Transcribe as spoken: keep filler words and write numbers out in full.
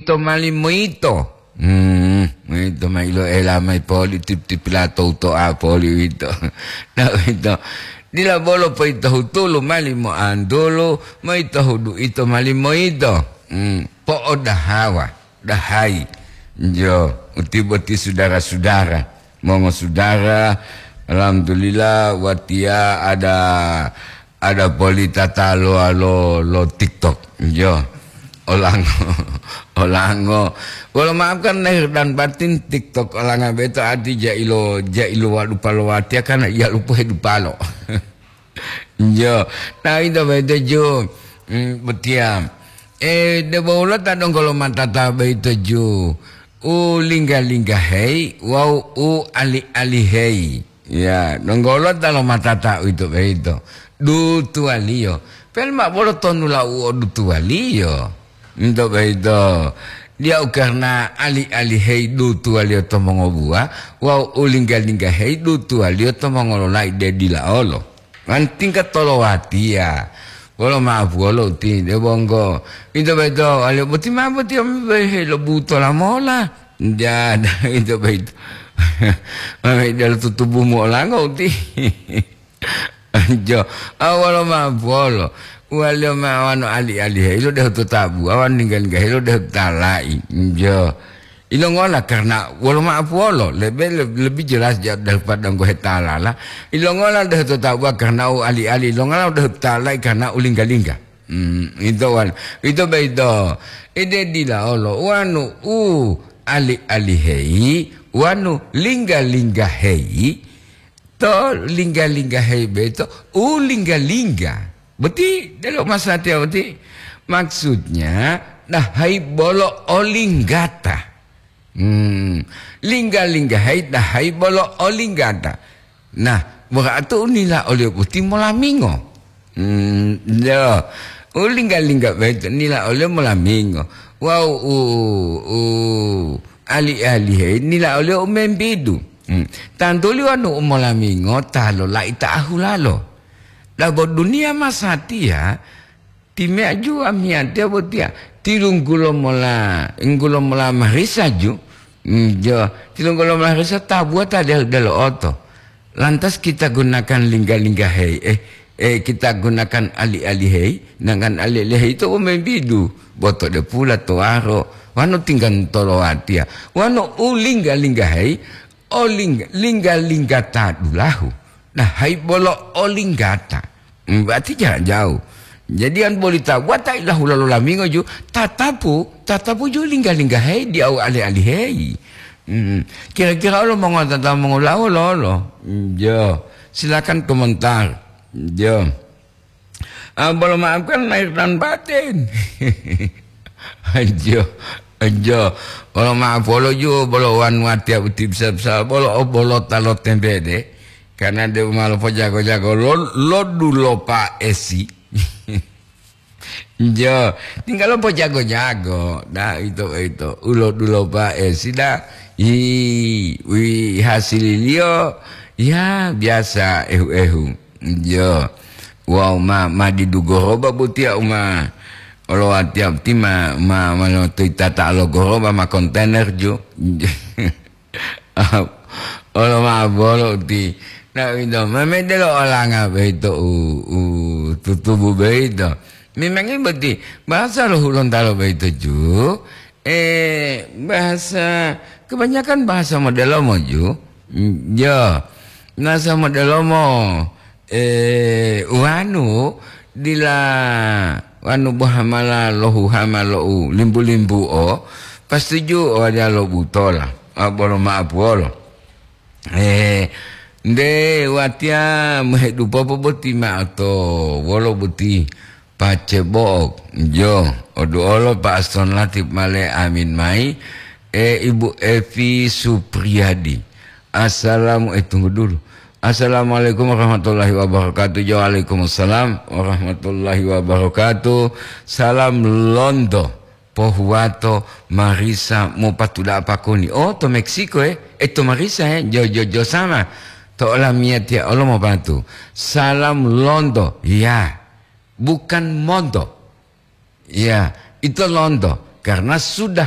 to mali moyito. Hmm, moyito ma iloela mayi poli tip-, tipila to uto'a poli uwito. Na uwito, dila bolo poyito hutulu mali moantulu, moyito hudu ito mali moyito. Hmm, po'odahawa, dahayi. Jo, uti boti sudara-sudara, mongosudara, alhamdulillah, watiya ada ada poli tatalo lo, lo TikTok. Yo. Olango, olango. Wolo maaf kan lahir dan batin TikTok olanga beto ati jailo, jailo wadupa lo watiya karena iya lupo hedupalo. Yo. Nah, itu beto ju. Hmm, betiam. Eh, debo ulo ta donggo lo matata beto ju. U lingga-linggaheyi wawu u ali-aliheyi. Ya, donggo ulo ta lo matata uwito boyito. Dutuwaliyo. Pele mao bolo tonula u o dutuwaliyo. Into boyito. Diyau karna ali-aliheyi dutuwaliyo to mongobuwa, wawu u lingga-linggaheyi dutuwaliyo to mongololai de dila olo. Wan tingga tolowatiya. Wolo ma'apuwolo uti, de bonggo. Into boyito, waliyo boti mao boti, ame boyito helobutola mola. Jada, into boyito. Ame delo tutubumu olango uti. Jo, awolo ma'apuwolo. Waliyo ma'awano ali-aliheyi lo dehu to tabuwa, wanu lingga-linggaheyi lo dehu to tala'i. Jo. Ilongola karena wolo ma'apuwolo, lebe, le-, lebih jelas ja-, daripada nggohe talala. Ilongola dehu to tabuwa karena u ali-ali, ilongola dehu to tala'i karena u lingga-lingga. Hmm, ito wan-, ito boyito. Ede dila olo, wanu u ali-aliheyi, wanu lingga-linggaheyi, to lingga-linggaheyi boyito, u lingga-lingga. Boti, delo masatiya boti. Maksudnya, dahayi bolo olinggata. Hmm, lingga-linggaheyi dahayi bolo olinggata. Nah, berarti u nila oliyo boti molamingo. Hmm, yo. U lingga-lingga boyito nila oliyo molamingo. Wawu u, u ali-aliheyi nila oliyo u membidu. Hmm. Tantuli wonu u molamingo ta lolai ta ahulalo. Dabo duniya masatiya, timeya ju amiyatiya botiya, tilunggulo mola, inggulo mola marisa ju, mm, jo, tilunggulo mola marisa tabuwa ta del-, delo'oto. Lantas kita gunakan lingga-linggaheyi, eh, eh, kita gunakan ali-aliheyi, sedangkan ali-aliheyi to u membidu, boto de pula towaro, wanu tingga tolowatiya, wanu u lingga-linggaheyi, oling-, lingga-linggata dulahu. Nah, hayi bolo olinggata. Hmm, berarti ja-, jauh. Jadi, an boli tabuwa ta ilahula lo lamingo ju, tatapu, tatapu ju lingga-linggaheyi diyawu ali-aliheyi. Hmm, kira-kira olo mongotata mongolawo lolo? Hmm, jo. Silakan komentar. Jo. Ah, bolo maafkan lahir dan batin. Anjo, anjo. Bolo maaf, bolo ju, bolo wan watiya uti bisa-bisa, bolo, bolo ta lo tembede. Karena de ma lopojago-jago, lo, lo dulopa esi. Jo, tinggal lopojago-jago. Nah, itu, itu. Ulo dulopa esi dah. Hi, wi hasililiyo, ya, biasa, ehu-ehu. Iyo. Wawu ma, ma didu goroba botiya u ma olowatiya boti ma, ma, ma lotoyitata lo goroba ma kontainer ju. Olo ma bolo uti. Na uwito, ma medelo olanga boyito u, u tutubu boyito. Memangi boti bahasa lo Hulontalo boyito ju. Eh, bahasa, kebanyakan bahasa modelomo ju. Mm, yo, bahasa modelomo, eh, uwanu dila wanu bohamala lohuhama lo u limbu-limbuo, pasti ju o waliya lo butola, a, bolo ma'apuwolo. Eh, nde watiya mohedupopo boti ma'o to wolo boti. Pace bo'o, jo, oduolo pa Aston Latif male amin mayi, e, Ibu Evi Supriyadi. Assalamu-, eh, tunggu dulu. Assalamualaikum warahmatullahi wabarakatuh. Jo, waalaikumsalam warahmatullahi wabarakatuh. Salam londo, pohuwato, marisa, mopatuda'a pakoni. Oh, to Meksiko, eh? Eh, to marisa, eh? Jo, jo, jo sama. To olamiyatiya olo mopatu. Salam londo. Ya. Bukan monto. Ya, itu londo. Karena sudah